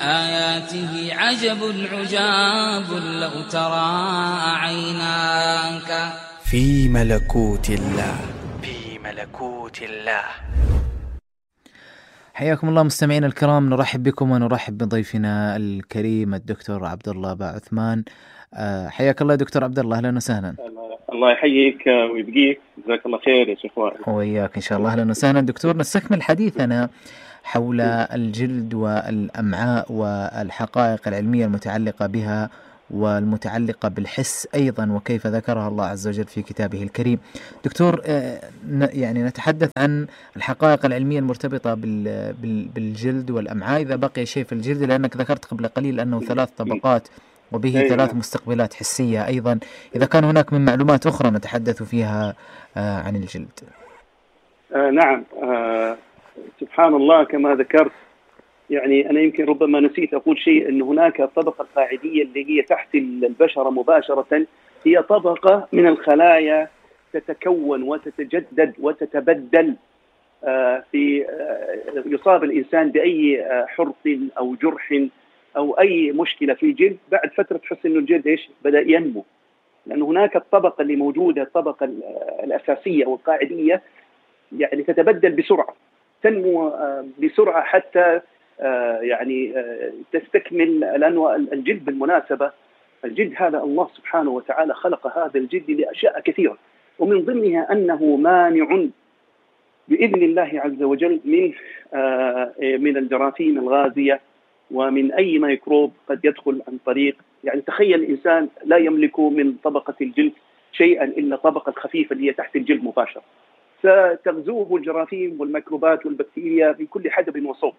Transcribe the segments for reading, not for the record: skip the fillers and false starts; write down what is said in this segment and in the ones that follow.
آياته عجب عجاب لو ترى عيناك في ملكوت الله. في ملكوت الله. حياكم الله مستمعين الكرام، نرحب بكم ونرحب بضيفنا الكريم الدكتور عبد الله باعثمان. حياك الله دكتور عبد الله، اهلا وسهلا. الله يحييك ويبقيك، جزاك الله خير يا شيخ وائل. وياك ان شاء الله، اهلا وسهلا دكتور. نستكمل حديثنا حول الجلد والأمعاء والحقائق العلمية المتعلقة بها والمتعلقة بالحس أيضا، وكيف ذكرها الله عز وجل في كتابه الكريم. دكتور، يعني نتحدث عن الحقائق العلمية المرتبطة بالجلد والأمعاء، إذا بقي شيء في الجلد، لأنك ذكرت قبل قليل أنه 3 طبقات وبه 3 مستقبلات حسية أيضا. إذا كان هناك من معلومات أخرى نتحدث فيها عن الجلد. نعم، سبحان الله كما ذكرت. يعني أنا يمكن ربما نسيت أقول شيء، أن هناك الطبقة القاعدية اللي هي تحت البشرة مباشرة، هي طبقة من الخلايا تتكون وتتجدد وتتبدل في يصاب الإنسان بأي حرق أو جرح أو أي مشكلة في الجلد، بعد فترة تحس أنه الجلد إيش بدأ ينمو، لأن هناك الطبقة اللي موجودة، الطبقة الأساسية والقاعدية، يعني تتبدل بسرعة، تنمو بسرعة حتى يعني تستكمل. لأنه الجلد بالمناسبة، الجلد هذا الله سبحانه وتعالى خلق هذا الجلد لأشياء كثيرة، ومن ضمنها أنه مانع بإذن الله عز وجل من الجراثيم الغازية ومن أي ميكروب قد يدخل عن طريق، يعني تخيل الإنسان لا يملك من طبقة الجلد شيئا إلا طبقة الخفيفة اللي هي تحت الجلد مباشرة، ستغزوه الجراثيم والميكروبات والبكتيريا بكل حدب وصوب.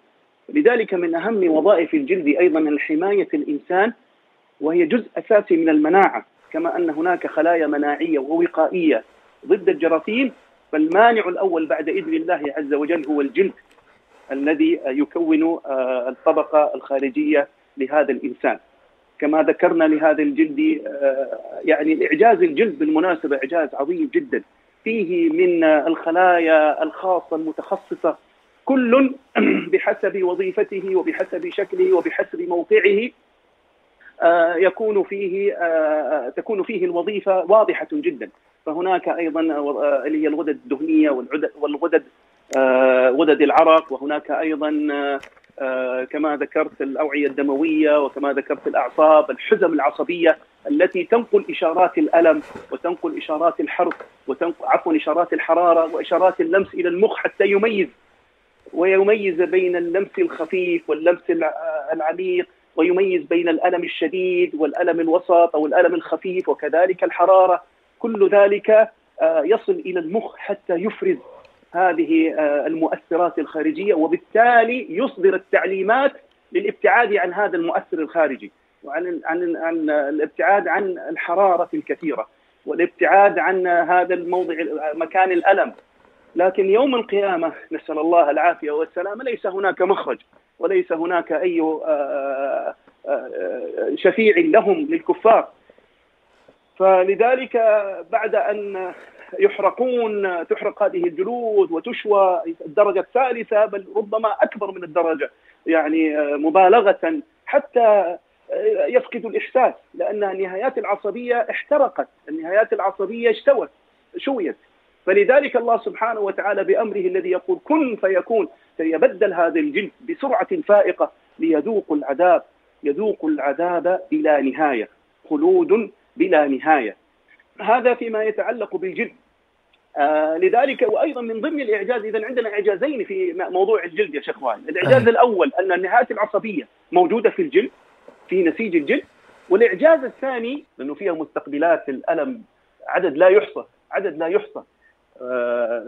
لذلك من أهم وظائف الجلد أيضا حماية الإنسان، وهي جزء أساسي من المناعة، كما أن هناك خلايا مناعية ووقائية ضد الجراثيم، فالمانع الأول بعد إذن الله عز وجل هو الجلد الذي يكون الطبقة الخارجية لهذا الإنسان. كما ذكرنا لهذا الجلد، يعني إعجاز الجلد بالمناسبة إعجاز عظيم جدا، فيه من الخلايا الخاصة المتخصصة، كل بحسب وظيفته وبحسب شكله وبحسب موقعه تكون فيه الوظيفة واضحة جدا. فهناك أيضا اللي هي الغدد الدهنية والغدد غدد العرق، وهناك أيضا كما ذكرت الأوعية الدموية، وكما ذكرت الأعصاب، الحزم العصبية التي تنقل إشارات الألم وتنقل إشارات الحرق إشارات الحرارة وإشارات اللمس إلى المخ، حتى يميز بين اللمس الخفيف واللمس العميق، ويميز بين الألم الشديد والألم الوسط أو الألم الخفيف، وكذلك الحرارة. كل ذلك يصل إلى المخ حتى يفرز هذه المؤثرات الخارجية، وبالتالي يصدر التعليمات للابتعاد عن هذا المؤثر الخارجي، وعن الابتعاد عن الحرارة الكثيرة، والابتعاد عن هذا الموضع مكان الألم. لكن يوم القيامة نسأل الله العافية والسلامة ليس هناك مخرج، وليس هناك أي شفيع لهم للكفار. فلذلك بعد أن تحرق هذه الجلود وتشوى الدرجة الثالثة، بل ربما أكبر من الدرجة، يعني مبالغة، حتى يفقد الإحساس، لأن النهايات العصبية احترقت، النهايات العصبية شويت. فلذلك الله سبحانه وتعالى بأمره الذي يقول كن فيكون سيبدل هذا الجلد بسرعة فائقة ليذوقوا العذاب بلا نهاية، خلود بلا نهاية. هذا فيما يتعلق بالجلد. لذلك وأيضا من ضمن الإعجاز، إذا عندنا إعجازين في موضوع الجلد يا شيخ وائل. الإعجاز الأول أن النهايات العصبية موجودة في الجلد، في نسيج الجلد. والإعجاز الثاني أنه فيها مستقبلات الألم عدد لا يحصى.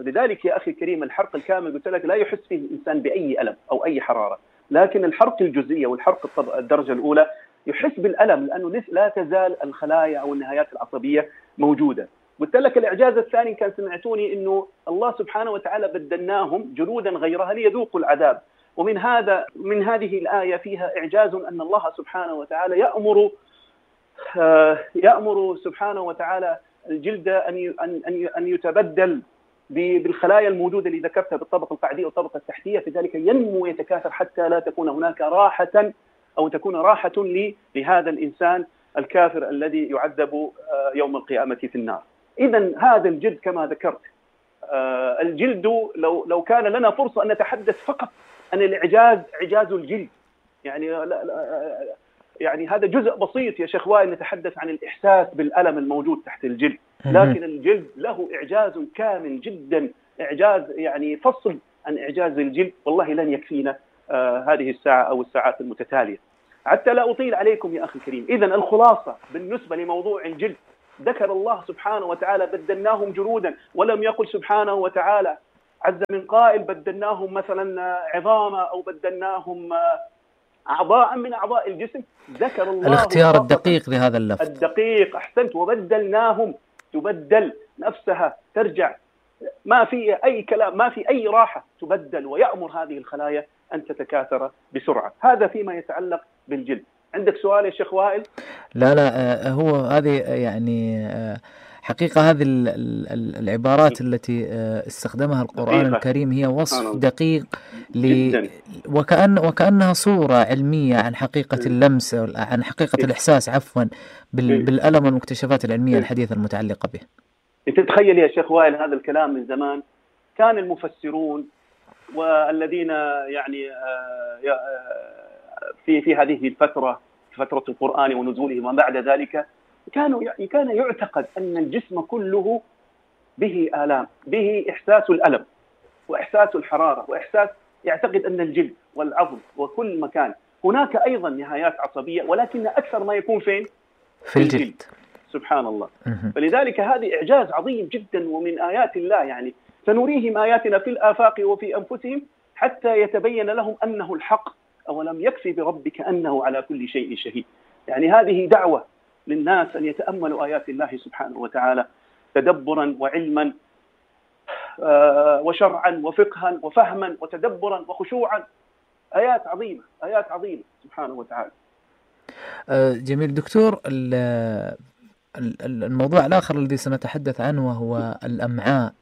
لذلك يا أخي الكريم، الحرق الكامل قلت لك لا يحس فيه الإنسان بأي ألم أو أي حرارة، لكن الحرق الجزئية والحرق الدرجة الأولى يحس بالألم، لأنه لا تزال الخلايا أو النهايات العصبية موجودة. قلت لك الإعجاز الثاني كان سمعتوني أنه الله سبحانه وتعالى بدلناهم جلودا غيرها ليذوقوا العذاب. ومن هذه الآية فيها إعجاز أن الله سبحانه وتعالى يأمر سبحانه وتعالى الجلد أن يتبدل بالخلايا الموجودة اللي ذكرتها بالطبقة القاعدية والطبقة التحتية، في ذلك ينمو ويتكاثر حتى لا تكون هناك راحة أو تكون راحة لهذا الإنسان الكافر الذي يعذب يوم القيامة في النار. إذن هذا الجلد كما ذكرت، الجلد لو كان لنا فرصة أن نتحدث فقط عن الإعجاز، إعجاز الجلد، يعني هذا جزء بسيط يا شيخ وائل، نتحدث عن الإحساس بالألم الموجود تحت الجلد، لكن الجلد له إعجاز كامل جدا، إعجاز يعني فصل عن إعجاز الجلد والله لن يكفينا هذه الساعة أو الساعات المتتالية. حتى لا أطيل عليكم يا أخي الكريم، إذن الخلاصة بالنسبة لموضوع الجلد، ذكر الله سبحانه وتعالى بدلناهم جلودا، ولم يقل سبحانه وتعالى عز من قائل بدلناهم مثلا عظاما أو بدلناهم أعضاء من أعضاء الجسم. ذكر الله الاختيار الدقيق لهذا اللفظ، الدقيق، أحسنت، وبدلناهم، تبدل نفسها، ترجع، ما في أي كلام، ما في أي راحة، تبدل، ويأمر هذه الخلايا أن تتكاثر بسرعة. هذا فيما يتعلق بالجلد. عندك سؤال يا شيخ وائل؟ لا هو هذه يعني حقيقة هذه العبارات التي استخدمها القرآن دقيقة. الكريم هي وصف دقيق جداً. وكأنها صورة علمية عن حقيقة اللمس، عن حقيقة الإحساس عفوا بالألم والمكتشفات العلمية الحديثة المتعلقة به. أنت تتخيل يا شيخ وائل هذا الكلام من زمان كان المفسرون والذين يعني في هذه الفترة، فترة القرآن ونزوله وما بعد ذلك، كان يعتقد أن الجسم كله به آلام، به إحساس الألم وإحساس الحرارة وإحساس، يعتقد أن الجلد والعظم وكل مكان هناك أيضا نهايات عصبية، ولكن أكثر ما يكون فين؟ في الجلد. سبحان الله. فلذلك هذه إعجاز عظيم جدا ومن آيات الله، يعني سنريهم آياتنا في الآفاق وفي أنفسهم حتى يتبين لهم أنه الحق، أولم يكفي بربك أنه على كل شيء شهيد. يعني هذه دعوة للناس أن يتأملوا آيات الله سبحانه وتعالى تدبرا وعلما وشرعا وفقها وفهما وتدبرا وخشوعا. آيات عظيمة، آيات عظيمة سبحانه وتعالى. جميل دكتور. الموضوع الآخر الذي سنتحدث عنه وهو الأمعاء.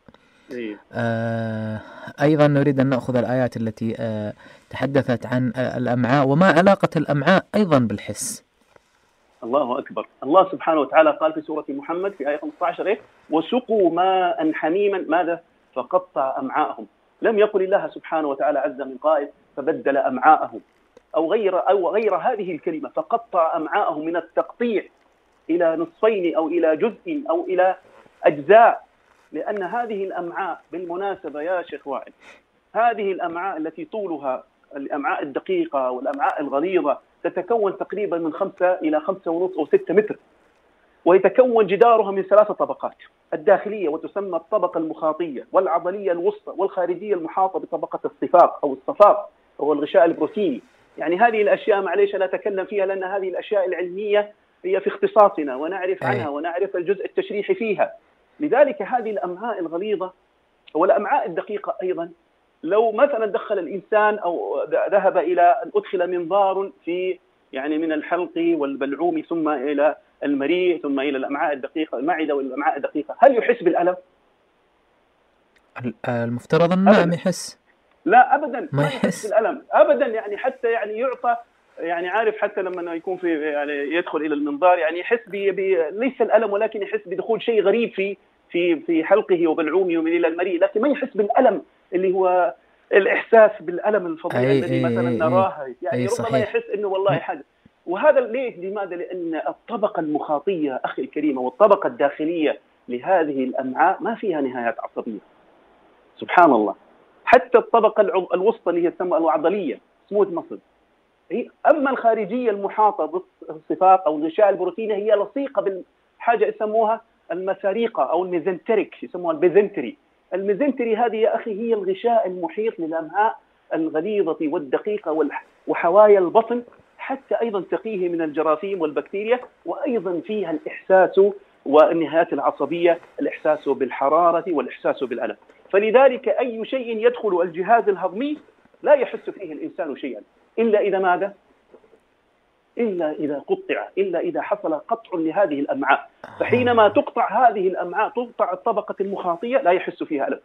أيضا نريد أن نأخذ الآيات التي تحدثت عن الأمعاء، وما علاقة الأمعاء أيضا بالحس. الله أكبر. الله سبحانه وتعالى قال في سورة محمد في آية 15 وسقوا ماء حميما ماذا فقطع أمعاءهم. لم يقل الله سبحانه وتعالى عز من قائل فبدل أمعاءهم أو غير هذه الكلمة فقطع أمعاءهم، من التقطيع إلى نصفين أو إلى جزء أو إلى أجزاء. لأن هذه الأمعاء بالمناسبة يا شيخ وائل، هذه الأمعاء التي طولها الأمعاء الدقيقة والأمعاء الغليظة تتكون تقريبا من 5 إلى 5.5 أو 6 متر، ويتكون جدارها من 3 طبقات: الداخلية وتسمى الطبقة المخاطية، والعضلية الوسطى، والخارجية المحاطة بطبقة الصفاق أو الصفاق أو الغشاء البروتيني. يعني هذه الأشياء معليش لا أتكلم فيها لأن هذه الأشياء العلمية هي في اختصاصنا ونعرف عنها ونعرف الجزء التشريحي فيها. لذلك هذه الأمعاء الغليظة والأمعاء الدقيقة أيضا، لو مثلا دخل الإنسان أو ذهب إلى أن أدخل منظار في يعني من الحلق والبلعوم ثم إلى المريء ثم إلى الأمعاء الدقيقة، المعدة والأمعاء الدقيقة، هل يحس بالألم؟ المفترض أن نعم يحس. لا أبدا ما يحس بالألم أبدا. يعني حتى يعني يعطى، يعني عارف حتى لما يكون في يعني يدخل إلى المنظار يعني يحس ليس الألم ولكن يحس بدخول شيء غريب في حلقه وبلعومه ومن إلى المريء، لكن ما يحس بالألم اللي هو الإحساس بالألم الفظيع الذي مثلا نراه. يعني ربما يحس إنه والله حاجة. وهذا ليه؟ لماذا؟ لأن الطبقة المخاطية أخي الكريمة والطبقة الداخلية لهذه الأمعاء ما فيها نهايات عصبية. سبحان الله. حتى الطبقة الوسطى اللي هي تسمى العضلية سموث ماسل، أما الخارجية المحاطة بالصفاق أو الغشاء البروتيني هي لصيقة بالحاجة يسموها المساريقة أو الميزنتريك، يسموها البيزنتري. الميزنتري هذه يا أخي هي الغشاء المحيط للأمعاء الغليظة والدقيقة وحوايا البطن، حتى أيضا تقيه من الجراثيم والبكتيريا، وأيضا فيها الإحساس والنهايات العصبية، الإحساس بالحرارة والإحساس بالألم. فلذلك أي شيء يدخل الجهاز الهضمي لا يحس فيه الإنسان شيئا إلا إذا ماذا؟ إلا إذا قطع، إلا إذا حصل قطع لهذه الأمعاء. فحينما تقطع هذه الأمعاء تقطع الطبقة المخاطية لا يحس فيها ألم،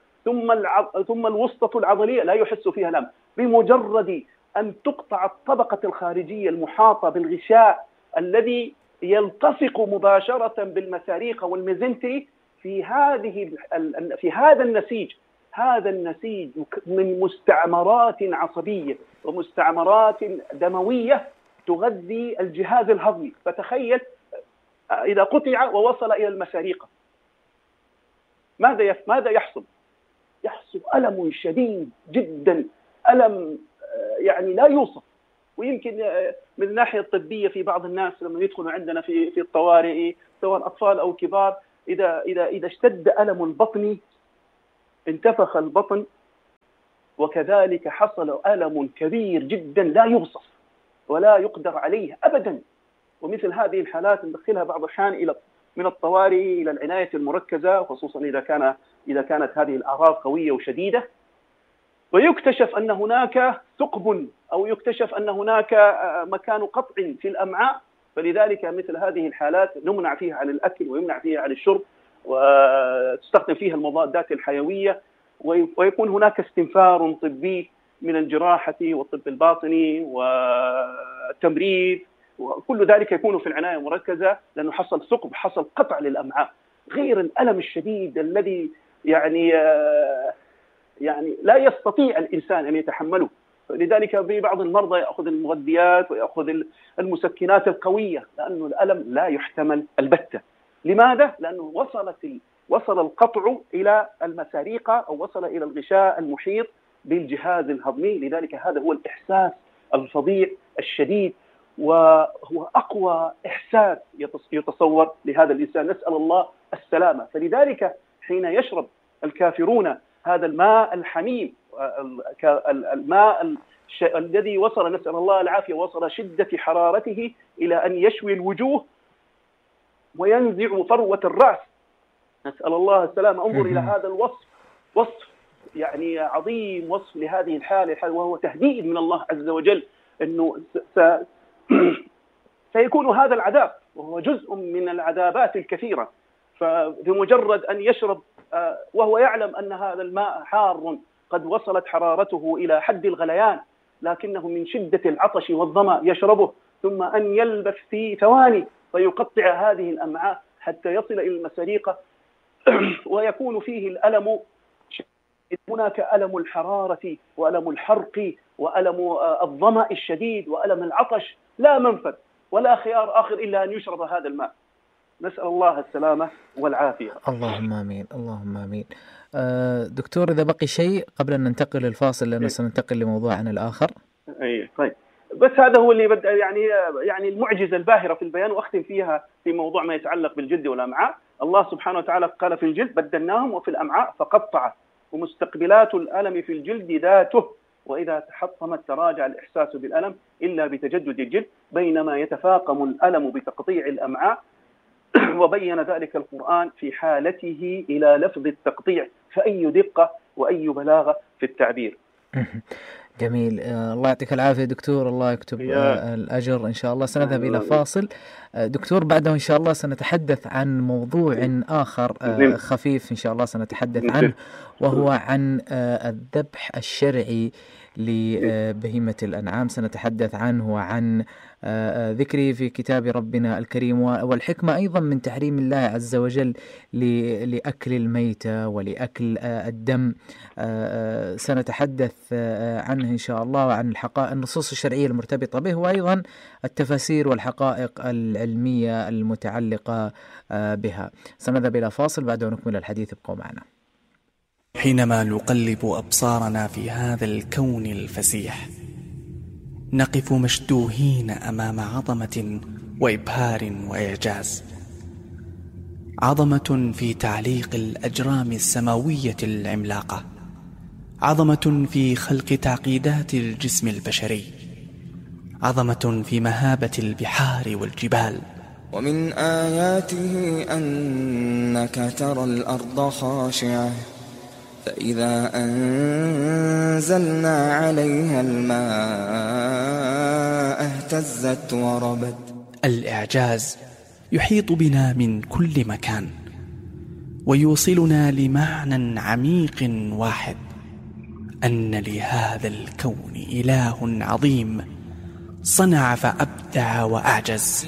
ثم الوسطة العضلية لا يحس فيها ألم. بمجرد أن تقطع الطبقة الخارجية المحاطة بالغشاء الذي يلتصق مباشرة بالمساريق والميزنتري في هذا النسيج. هذا النسيج من مستعمرات عصبية ومستعمرات دموية تغذي الجهاز الهضمي. فتخيل إذا قطع ووصل إلى المساريق ماذا يحصل؟ يحصل ألم شديد جدا، ألم يعني لا يوصف. ويمكن من الناحية الطبية في بعض الناس لما يدخلوا عندنا في الطوارئ سواء أطفال أو كبار، إذا اشتد ألم البطن انتفخ البطن، وكذلك حصل ألم كبير جدا لا يوصف ولا يقدر عليه أبدا. ومثل هذه الحالات ندخلها بعض الأحيان من الطوارئ إلى العناية المركزة، خصوصا إذا كانت هذه الأعراض قوية وشديدة، ويكتشف أن هناك ثقب أو يكتشف أن هناك مكان قطع في الأمعاء. فلذلك مثل هذه الحالات نمنع فيها عن الأكل ويمنع فيها عن الشرب، وتستخدم فيها المضادات الحيوية، ويكون هناك استنفار طبي من الجراحة والطب الباطني والتمريض، وكل ذلك يكون في العناية المركزة، لأنه حصل ثقب، حصل قطع للأمعاء، غير الألم الشديد الذي يعني لا يستطيع الإنسان أن يتحمله. لذلك في بعض المرضى يأخذ المغذيات ويأخذ المسكنات القوية، لأنه الألم لا يحتمل البتة. لماذا؟ لأنه وصل القطع إلى المساريق أو وصل إلى الغشاء المحيط بالجهاز الهضمي. لذلك هذا هو الإحساس الفظيع الشديد، وهو أقوى إحساس يتصور لهذا الإنسان. نسأل الله السلامة. فلذلك حين يشرب الكافرون هذا الماء الحميم، الماء الذي وصل، نسأل الله العافية، وصل شدة حرارته إلى أن يشوي الوجوه وينزع فروة الرأس، نسأل الله السلامة. انظر إلى هذا الوصف، وصف يعني عظيم، وصف لهذه الحالة، وهو تهديد من الله عز وجل أنه سيكون هذا العذاب، وهو جزء من العذابات الكثيرة. فبمجرد أن يشرب وهو يعلم أن هذا الماء حار قد وصلت حرارته إلى حد الغليان، لكنه من شدة العطش والظمأ يشربه، ثم أن يلبث في ثواني فيقطع هذه الأمعاء حتى يصل إلى المساريق ويكون فيه الألم. هناك ألم الحرارة وألم الحرق وألم الظمأ الشديد وألم العطش، لا منفذ ولا خيار آخر إلا أن يشرب هذا الماء. نسأل الله السلامة والعافية. اللهم آمين، اللهم آمين. دكتور، إذا بقي شيء قبل أن ننتقل للفاصل، لأنه سننتقل لموضوعنا الآخر. طيب، بس هذا هو اللي بدأ يعني المعجزة الباهرة في البيان، وأختم فيها في موضوع ما يتعلق بالجلد والأمعاء. الله سبحانه وتعالى قال في الجلد بدلناهم وفي الأمعاء فقطع، ومستقبلات الألم في الجلد ذاته، وإذا تحطمت تراجع الإحساس بالألم إلا بتجدد الجلد، بينما يتفاقم الألم بتقطيع الأمعاء. وبين ذلك القرآن في حالته إلى لفظ التقطيع، فأي دقة وأي بلاغة في التعبير. جميل. الله يعطيك العافية دكتور، الله يكتب الأجر إن شاء الله. سنذهب إلى فاصل دكتور، بعده إن شاء الله سنتحدث عن موضوع آخر خفيف إن شاء الله سنتحدث عنه، وهو عن الذبح الشرعي لبهيمة الأنعام. سنتحدث عنه وعن ذكره في كتاب ربنا الكريم، والحكمة أيضا من تحريم الله عز وجل لأكل الميتة ولأكل الدم. سنتحدث عنه إن شاء الله، وعن النصوص الشرعية المرتبطة به، وأيضا التفاسير والحقائق العلمية المتعلقة بها. سنذهب إلى فاصل، بعده نكمل الحديث، ابقوا معنا. حينما نقلب أبصارنا في هذا الكون الفسيح، نقف مشدوهين أمام عظمة وإبهار وإعجاز. عظمة في تعليق الأجرام السماوية العملاقة، عظمة في خلق تعقيدات الجسم البشري، عظمة في مهابة البحار والجبال. ومن آياته أنك ترى الأرض خاشعة فإذا أنزلنا عليها الماء اهتزت وربت. الإعجاز يحيط بنا من كل مكان، ويوصلنا لمعنى عميق واحد: أن لهذا الكون إله عظيم صنع فأبدع وأعجز.